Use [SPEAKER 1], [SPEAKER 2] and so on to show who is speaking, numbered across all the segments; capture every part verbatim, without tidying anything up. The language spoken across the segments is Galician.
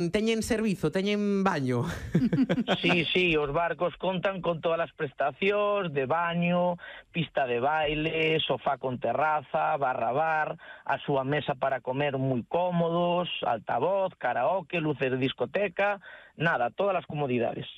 [SPEAKER 1] teñen servizo, teñen baño.
[SPEAKER 2] Sí, sí, os barcos contan con todas as prestacións de baño, pista de baile, sofá con terraza, barra bar, a súa mesa para comer moi cómodos, altavoz, karaoke, luces de discoteca, nada, todas as comodidades.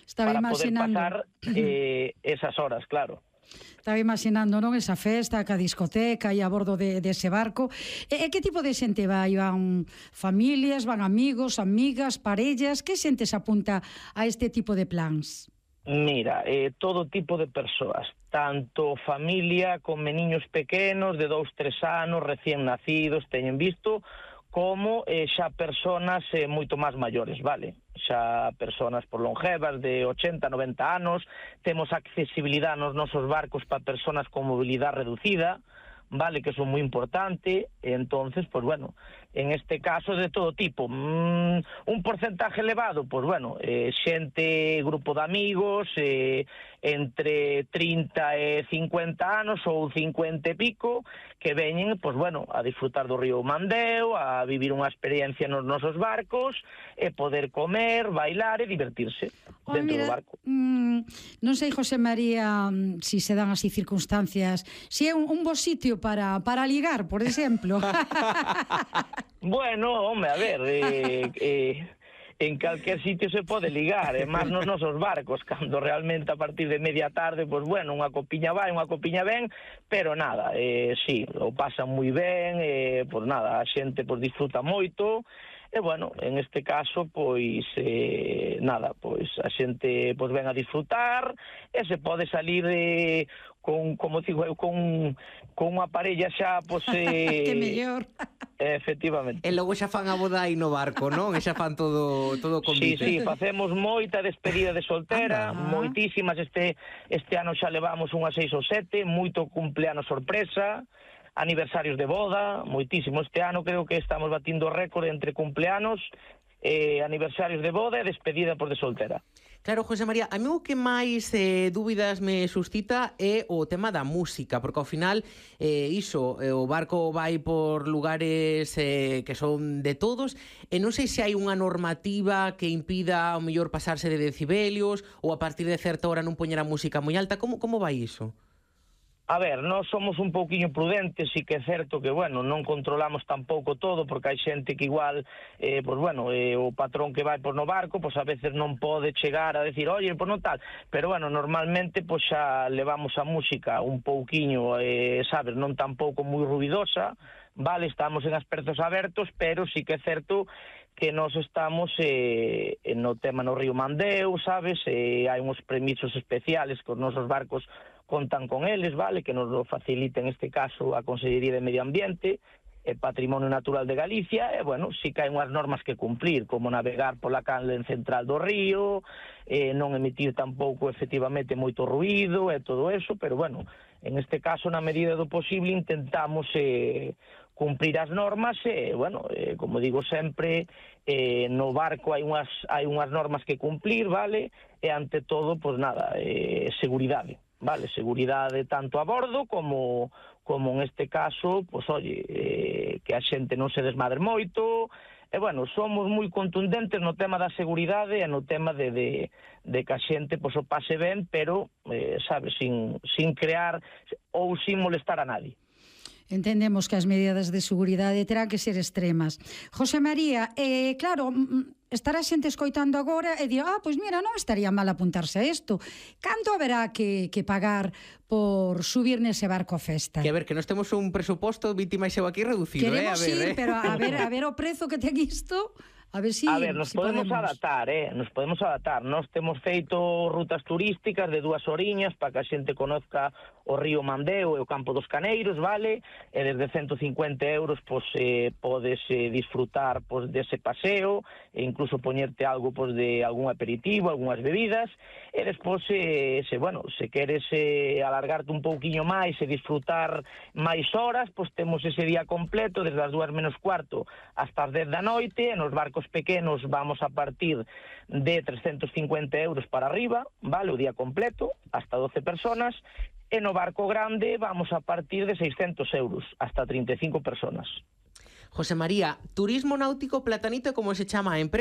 [SPEAKER 3] Estaba
[SPEAKER 2] para
[SPEAKER 3] imaginando...
[SPEAKER 2] poder pasar eh, esas horas, claro.
[SPEAKER 3] Estaba imaginando, non, esa festa, ca discoteca e a bordo de, de ese barco. E, e que tipo de xente vai? Van familias, van amigos, amigas, parellas? Que xente se apunta a este tipo de plans?
[SPEAKER 2] Mira, eh, todo tipo de persoas, tanto familia con meniños pequenos de dous, tres anos, recién nacidos, teñen visto, como eh, xa personas eh, moito máis maiores, vale? Xa personas por longevas de ochenta, noventa anos, temos accesibilidade nos nosos barcos para personas con mobilidade reducida, vale, que son moi importante, entonces, pues bueno, en este caso de todo tipo. Mm, un porcentaje elevado, pues bueno, eh, xente, grupo de amigos, eh, entre trinta e cincuenta anos ou cincuenta e pico, que veñen, pues bueno, a disfrutar do río Mandeo, a vivir unha experiencia nos nosos barcos, e poder comer, bailar e divertirse
[SPEAKER 3] oh,
[SPEAKER 2] dentro
[SPEAKER 3] mira,
[SPEAKER 2] do barco.
[SPEAKER 3] Mm, non sei, José María, si se dan así circunstancias, si é un, un bo sitio para, para ligar, por exemplo.
[SPEAKER 2] Bueno, home, a ver, eh, eh, en calquer sitio se pode ligar, e máis nos nosos barcos, cando realmente a partir de media tarde, pois bueno, unha copiña vai, unha copiña ven, pero nada, eh, sí, o pasan moi ben, eh, pois nada, a xente pois disfruta moito, e bueno, en este caso, pois, eh, nada, pois a xente pois ven a disfrutar, e se pode salir eh, con, como digo eu, con, con unha parella xa, pois... Eh,
[SPEAKER 3] que mellor.
[SPEAKER 2] Efectivamente.
[SPEAKER 1] E logo xa fan a boda aí no barco, non? E xa fan todo todo convite.
[SPEAKER 2] Sí, sí, facemos moita despedida de soltera,
[SPEAKER 3] Anda.
[SPEAKER 2] moitísimas, este este ano xa levamos unhas seis ou sete, moito cumpleanos sorpresa, aniversarios de boda, moitísimo. Este ano creo que estamos batindo récord entre cumpleanos, eh, aniversarios de boda e despedida por de soltera.
[SPEAKER 1] Claro, José María, a mí o que máis eh, dúbidas me suscita é o tema da música, porque ao final eh, iso, eh, o barco vai por lugares eh, que son de todos, e non sei se hai unha normativa que impida ao mellor pasarse de decibelios ou a partir de certa hora non poñer a música moi alta. Como, como vai iso?
[SPEAKER 2] A ver, nós somos un pouquiño prudentes, e que é certo que, bueno, non controlamos tampouco todo, porque hai xente que igual, eh, pues bueno, eh, o patrón que vai por no barco, pues a veces non pode chegar a decir, oye, pues non tal, pero bueno, normalmente, pues xa levamos a música un pouquiño, eh, sabes, non tampouco moi ruidosa, vale, estamos en asperzos abertos, pero sí que é certo que nós estamos eh, no tema no río Mandeo, sabes, eh, hai uns permisos especiales que os nosos barcos contan con eles, vale, que nos lo facilita en este caso a Consellería de Medio Ambiente e Patrimonio Natural de Galicia, e, bueno, sí que hai unhas normas que cumplir, como navegar pola canle central do río, eh, non emitir tampouco efectivamente moito ruído e todo eso, pero, bueno, en este caso, na medida do posible, intentamos eh, cumprir as normas e, bueno, eh, como digo sempre, eh, no barco hai unhas, hai unhas normas que cumplir, vale, e ante todo, pois nada, eh, seguridade. Vale, seguridade tanto a bordo como como en este caso, pois oye, eh, que a xente non se desmadre moito, e bueno, somos moi contundentes no tema da seguridade e no tema de, de, de que a xente pois o pase ben, pero, eh, sabes, sin, sin crear ou sin molestar a nadie.
[SPEAKER 3] Entendemos que as medidas de seguridade terán que ser extremas. José María, eh, claro, estará xente escoitando agora e di, ah, pois mira, non estaría mal apuntarse a isto. Canto haberá que, que pagar por subir nese barco a festa?
[SPEAKER 1] Que a ver, que nós temos un presuposto vítima e xeo aquí reducido,
[SPEAKER 3] Queremos
[SPEAKER 1] eh? A ver,
[SPEAKER 3] ir,
[SPEAKER 1] eh?
[SPEAKER 3] pero a ver, a ver o prezo que ten isto... A ver si,
[SPEAKER 2] a ver, nos
[SPEAKER 3] si
[SPEAKER 2] podemos,
[SPEAKER 3] podemos
[SPEAKER 2] adaptar, eh? Nos podemos adaptar. Nos temos feito rutas turísticas de dúas oriñas para que a xente conozca o río Mandeo e o Campo dos Caneiros, vale? E desde ciento cincuenta euros, pois, eh, podes eh, disfrutar pois, dese paseo, e incluso poñerte algo pois, de algún aperitivo, algunhas bebidas, e despois, eh, se, bueno, se queres eh, alargarte un pouquiño máis e disfrutar máis horas, pois temos ese día completo, desde as dúas menos cuarto hasta as dez da noite, e nos barcos pequenos vamos a partir de trescentos cincuenta euros para arriba, vale, o día completo, hasta doce personas, e no barco grande vamos a partir de seiscentos euros, hasta trinta e cinco personas.
[SPEAKER 1] José María, turismo náutico Platanito, como se chama a empresa?